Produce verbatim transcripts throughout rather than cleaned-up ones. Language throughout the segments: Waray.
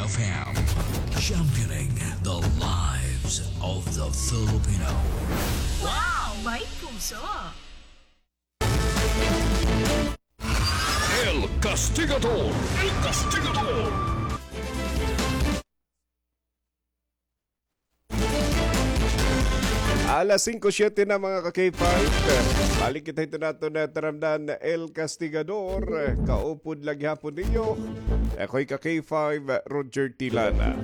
F M, championing the lives of the Filipino. Wow! May puso! El Castigador! El Castigador! Alas singko siyete na, mga ka-K five. Balik kita hito naton taramdan, El Castigador. Kaupod la gihapon ninyo. Ako'y ka-K five, Roger Tilana.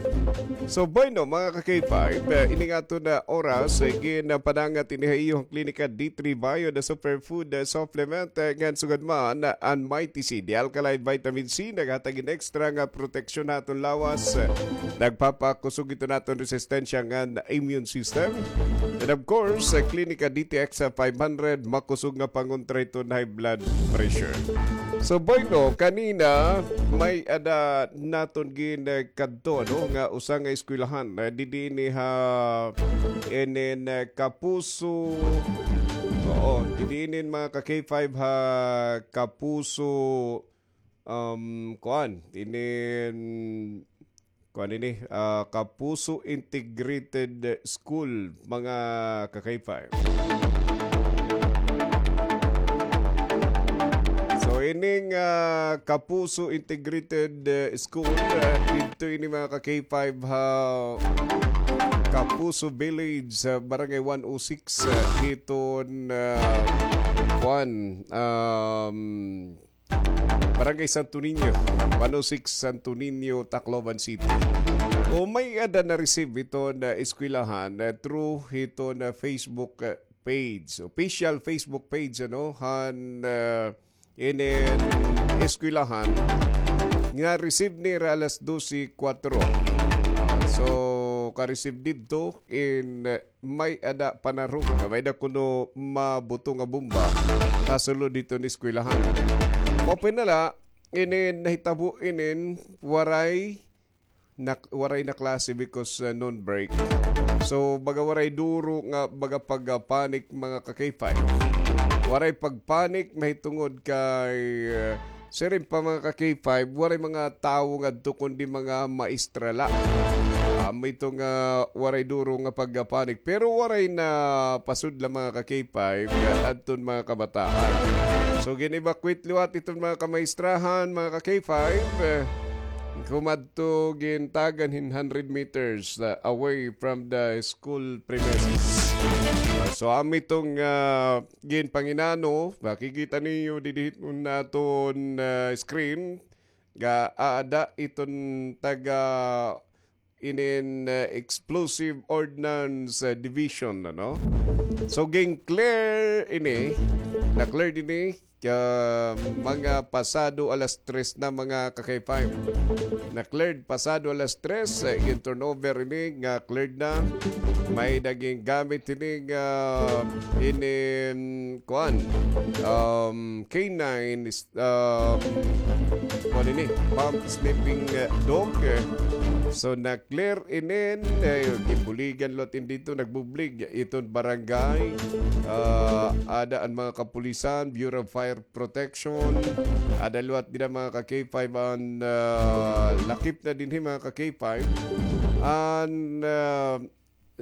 So, bueno, mga ka-K five, eh, ini nga aton oras, eh, ginpadangat ini ha iyo klinika D three Bio, the superfood, eh, supplement, eh, ngan sugad man, eh, an Mighty C, the alkaline vitamin C, naghatag hin extra nga proteksyon ha aton lawas, eh, nagpapakusog ito naton resistensya ngan immune system. And of course, sa Klinika D T X five hundred, makusog nga pangontra hiton high blood pressure. So, bueno, kanina, may-ada naton gin, eh, kadto, ano, nga usa nga eskwelahan, eh, didi ini ha, inin, eh, Kapuso, oo, didi inin, mga ka-K five, ha Kapuso, um, kuan, inin, kuan ini, ah, Kapuso Integrated School, mga ka-K five. So, ining, ah, Kapuso Integrated, eh, School, ah, didto ini, mga ka-K five, ha Kapuso Village, sa Barangay one oh six, ah, hiton, ah, kuan, um, Barangay Santo Niño, one oh six Santo Niño, Tacloban City. O may-ada na-receive hiton eskwelahan, eh, through hiton Facebook, eh, page, official Facebook page, ano, han, eh, inin eskwelahan nga receive nira alas dose kuwatro. So, ka-receive didto in, eh, may-ada panarong nga may-ada kuno mabuto nga bomba ha sulod hiton eskwelahan. Open na la, inin nahitabo inin waray na, waray na klase because, uh, noon break. So, baga waray duro nga baga pag-, uh, panic, mga ka-K five. Waray pagpanic mahitungod kay, uh, siring pa, mga ka-K five, waray mga tawo ngadto kundi mga maestra la. Amo ito nga waray duro nga pagpanik, pero waray napasudla, mga ka-K five, adton mga kabataan. So, gin-evacuate liwat iton mga kamaestrahan, mga ka-K five, eh, kumadto gintagan hin hundred meters, uh, away from the school premises. So, amo iton, uh, ginpanginano, makikita niyo didi hiton aton, ah, screen, nga aada iton taga inin, ah, Explosive Ordnance, ah, Division, ano? So, gin-clear ini, na-clear ini, ka mga pasado alas tres na, mga ka-K five. Na-cleared pasado alas tres, eh, gin-turnover ini nga cleared na. May-ada gingamit ini nga inin, kuan, um, K nine, um, kuan ini, pump sniffing, eh, dog, eh. So, na-clear inin, eh, ginbuligan liwat ini didto, nagbublig iton barangay. Ah, ada an mga kapulisan, Bureau of Fire Protection. Ada liwat dida, mga ka-K five, an, ah, lakip na dinhi, mga ka-K five. An, ah,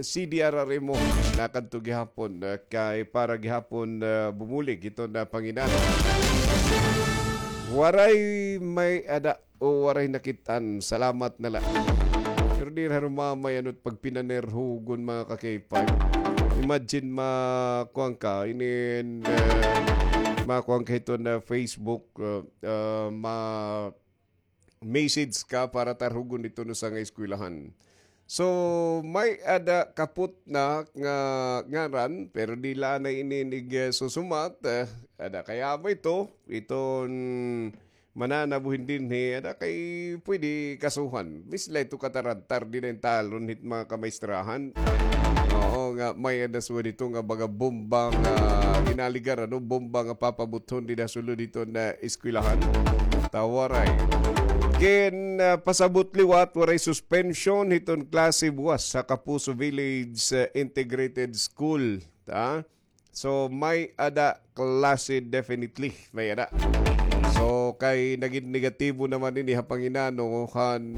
C D R R M O nakadto gihapon, ah, kay para gihapon, ah, bumulig iton panginano. Waray may-ada o waray nakit-an, salamat na la. Pero diri harumamay ano it pagpinanerhugon, mga ka-K five. Imagine, makuan ka, inin, eh, makuan ka hiton Facebook, eh, eh, ma-message ka para tarhugon iton usa nga eskwelahan. So, may-ada kapot na nga ngaran, pero diri la anay ini ig, eh, susumat, eh, ada kay amo ito, iton mananabo hin dinhi, ada kay pwede kasuhan. Bis la ito katarantar, diri na intalon hit mga kamaestrahan. Oo, nga may-ada sugad ito nga baga bomba nga ginaligar, ano, bomba nga papabuthon dida sulod hiton eskwelahan. Ta waray. Gin, ah, pasabot liwat, waray suspension hiton klase buwas ha Kapuso Village, ah, Integrated School. Ta? So, may-ada klase, definitely, may-ada. So, kay nagin negatibo naman ini ha panginano han,